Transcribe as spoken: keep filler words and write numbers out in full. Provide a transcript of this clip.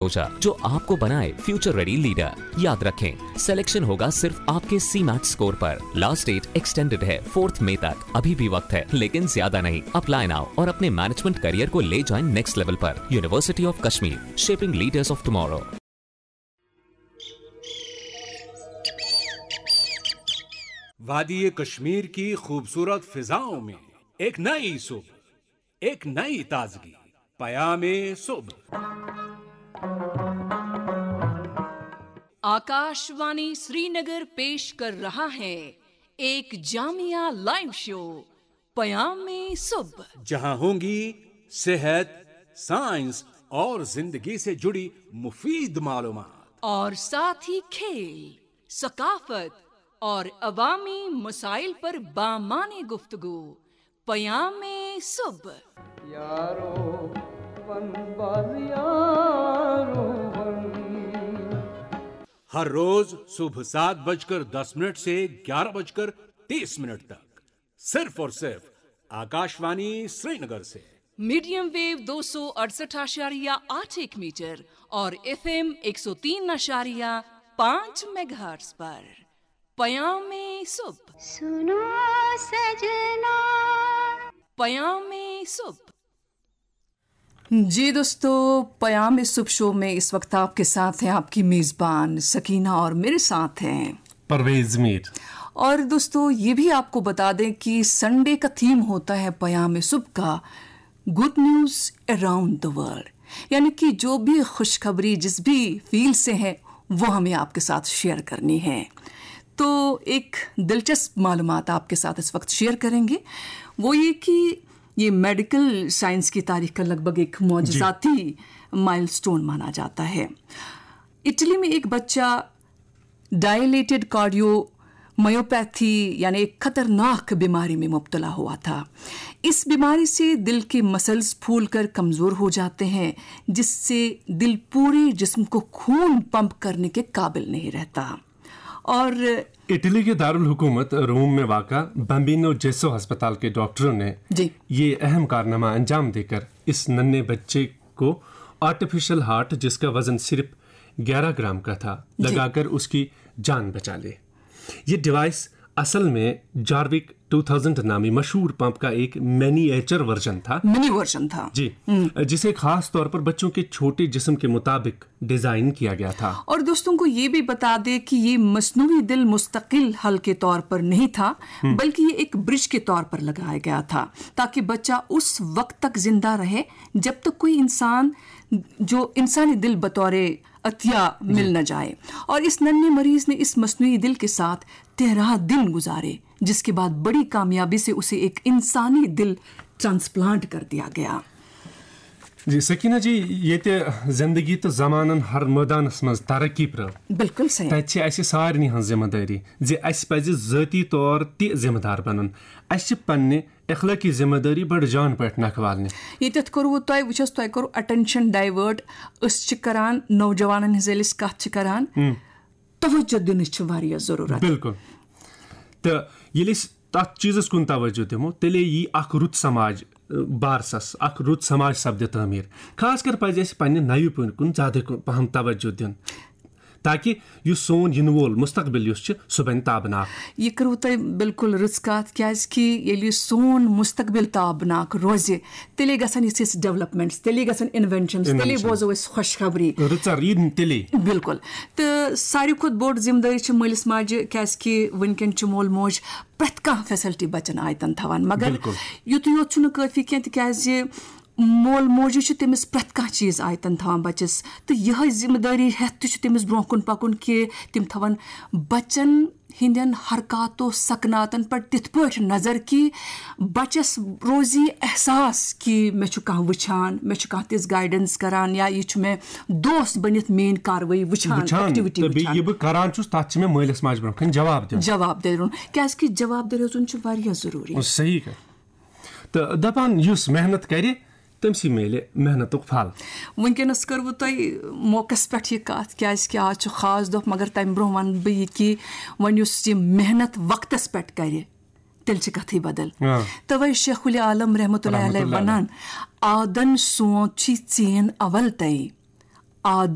भरोसा, जो आपको बनाए फ्यूचर रेडी लीडर। याद रखें, सिलेक्शन होगा सिर्फ आपके सी मैट स्कोर पर। लास्ट डेट एक्सटेंडेड है फोर्थ मई तक। अभी भी वक्त है, लेकिन ज्यादा नहीं। अप्लाई नाउ और अपने मैनेजमेंट करियर को ले जाएं नेक्स्ट लेवल पर। University of Kashmir, shaping leaders of tomorrow. वादी कश्मीर की खूबसूरत फिजाओं में एक नई सुबह, एक नई ताजगी। पयाम सुबह। आकाशवाणी श्रीनगर पेश कर रहा है एक जामिया लाइव शो पयाम सुबह। जहां होंगी सेहत, साइंस और जिंदगी से जुड़ी मुफीद मालूमात। और साथ ही खेल, सकाफत और अवामी मसाइल पर बामाने गुफ्तगू। पयाम सुबह। यारो वन बाज यारो वन। हर रोज सुबह सात बजकर दस मिनट से ग्यारह बजकर तीस मिनट तक सिर्फ और सिर्फ आकाशवाणी श्रीनगर से। मीडियम वेव दो सौ अड़सठ आशारिया आठ एक मीटर और एफ एम एक सौ तीन आशारिया पाँच मेगाहर्ट्ज पर पयाम सुबह। सुनो सजना। पयाम सुबह। जी दोस्तों, पयाम सुबह शो में इस वक्त आपके साथ हैं आपकी मेज़बान सकीना और मेरे साथ हैं परवेज मीर। और दोस्तों, ये भी आपको बता दें कि संडे का थीम होता है पयाम सुबह का good news around the world, यानी कि जो भी खुशखबरी जिस भी फील्ड से है, वो हमें आपके साथ शेयर करनी है। तो एक दिलचस्प मालूमात आपके साथ इस वक्त शेयर करेंगे, वो ये कि ये मेडिकल साइंस की तारीख का लगभग एक मोजजाती माइलस्टोन माना जाता है। इटली में एक बच्चा डायलेटेड कार्डियोमायोपैथी यानी एक खतरनाक बीमारी में मुब्तला हुआ था। इस बीमारी से दिल के मसल्स फूलकर कमज़ोर हो जाते हैं, जिससे दिल पूरे जिस्म को खून पंप करने के काबिल नहीं रहता। और इटली के दारुल हुकूमत रोम में वाका बम्बिनो जेसो अस्पताल के डॉक्टरों ने जी। ये अहम कारनामा अंजाम देकर इस नन्हे बच्चे को आर्टिफिशियल हार्ट, जिसका वजन सिर्फ ग्यारह ग्राम का था, जी। लगाकर उसकी जान बचा ली। ये डिवाइस असल में जार्विक टू थाउजेंड नामी मशहूर पंप का एक मिनिएचर वर्जन था। मिनी वर्जन था। जी, जिसे खास तौर पर बच्चों के छोटे जिस्म के मुताबिक डिजाइन किया गया था। और दोस्तों को ये भी बता दें कि ये मसनूई दिल मुस्तकिल हल के तौर पर नहीं था, बल्कि ये एक ब्रिज के तौर पर लगाया गया था, ताकि बच्चा उस वक्त तक जिंदा रहे जब तक कोई इंसान, जो इंसानी दिल बतौर अतिया मिल न जाए। और इस नन्हे मरीज ने इस मसनूई दिल के साथ तेरह दिन गुजारे, जिसके बाद बड़ी कामयाबी से उसे एक इंसानी दिल ट्रांसप्लांट कर दिया गया। जी सकीना जी, ये जिंदगी तो जमानन हर मैदानस मंज तरक्की पर। बिल्कुल सही। तत छे अस सारनी हंज जिम्मेदारी जे अस पज जाती तौर ति जिम्मेदार बनन। अस पन्ने अखलाकी जिम्मेदारी बड़ जान पट नखवालने। ये तथ करो तय वुचस तय करो अटेंशन डाइवर्ट। अस छ करान नौजवानन हंज यस कथ छ करान, तवज्जो दिन छ वारिया जरूरत। बिल्कुल। तो ये तथ चीजस कुन तवज्जो दिमो, तेले यी अख रुत समाज, अ, बारसस, अख रुत समाज सपदि तामीर। खास कर पज अस पन्ने नयु पुन कुन ज्यादा कु-, पहम तवज्जो दिन, ताकि यु सोन यिन वोल मुस्तकबिल युस छ, सु बन ताबनाक। ये करो तय बिल्कुल रुत कथ, क्याज कि येले सोन मुस्तकबिल ताबनाक रोजे, तेले गसन इस, इस डेवलपमेंट्स, तेले गसन इन्वेंशंस, तेले Inventions। बोजो इस खुशखबरी। रुचर ईद तेले। बिल्कुल। तो सारी खुद बोर्ड जिम्मेदारी छ मलिस माज, क्याज कि वनकन छ मोल मोज प्रत कह फैसिलिटी बचन आयतन थवान, मगर बिल्कुल। युत योत छुन काफी कह, तिक्याज मोल मोज छ तमिस प्रत कह चीज आयतन थवान बचस, तो यह जिम्मेदारी हेत छ तमिस ब्रोह कुन पकुन कि तिम थवन बचन हिंदन हरकातो सकनातन पर तिथ पठ नजर कि बचस रोजी एहसास कि मे छु कह वुछान, मे छु कह तिस गाइडेंस करान या ये छु मे दोस्त बनित मेन कार्रवाई वुछान, वुछान एक्टिविटी तो बे वुछान। ये बह करान छुस, तथ छ मे मलिस माज ब्रोह कन जवाब दिन। जवाब दे रुन, क्याज कि जवाब दे रुन छु वारिया जरूरी। सही कर। तो दपान युस मेहनत करे, तमसी मेले मेहनतुक फल। वनकनस करवु तय मौकस पठ ये कथ, क्याज कि आज छु खास दोह, मगर तम ब्रोह वन बह ये कि वन युस ये मेहनत वक्तस पठ करे, तेल छ कथी बदल। हाँ। तवे शेखुल आलम रहमतुल्लाह अलैह रहमतुल्लाह वनान, आदन सोच छी चेन अवल तय। عادت.